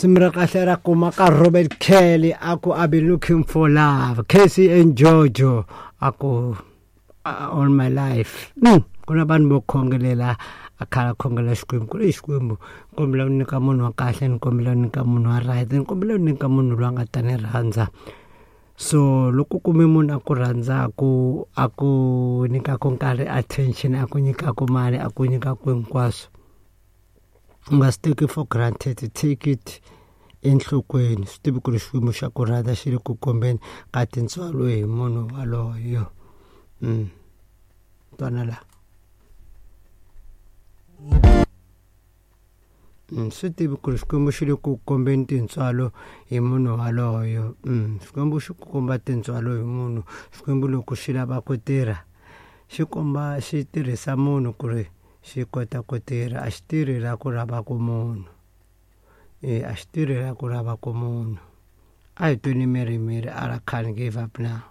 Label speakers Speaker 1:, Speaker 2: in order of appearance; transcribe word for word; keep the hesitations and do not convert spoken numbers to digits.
Speaker 1: Risimu ra kahle ra kuma ka Robert Kelly a ku I been looking for love. Casey and Jojo a ku all my life. Mm. Ku na vanhu vo khongelela a khala khongela Xikwembu ku ri Xikwembu kombela u nyika munhu wa kahle ni kombela u nyika munhu wa right ni kombela u nyika munhu loyi a nga ta ni rhandza. So loko u kume munhu a ku rhandzaku a ku nyikaku nkarhi attention a ku nyikaku mali a ku nyikaku hinkwaswo u nga swi teki for granted, take it enhlokweni. Swi tivi ku ri Xikwembu xa ku rhandza xi le ku kombeni ka tintswalo hi munhu waloyo. Mm. Twana la. Mm, swi tivi ku ri Xikwembu xi le ku kombeni tintswalo hi munhu waloyo. Mm, Xikwembu xi ku komba tintswalo hi munhu. Xikwembu loko xi lava ku tirha xi komba xi tirhisa munhu ku ri xi kota ku tirha. A xi tirhi la ku lavaku munhu. E a xi tirhi la ku lavaku munhu. A hi tweni mirimiri a ra can't give up now.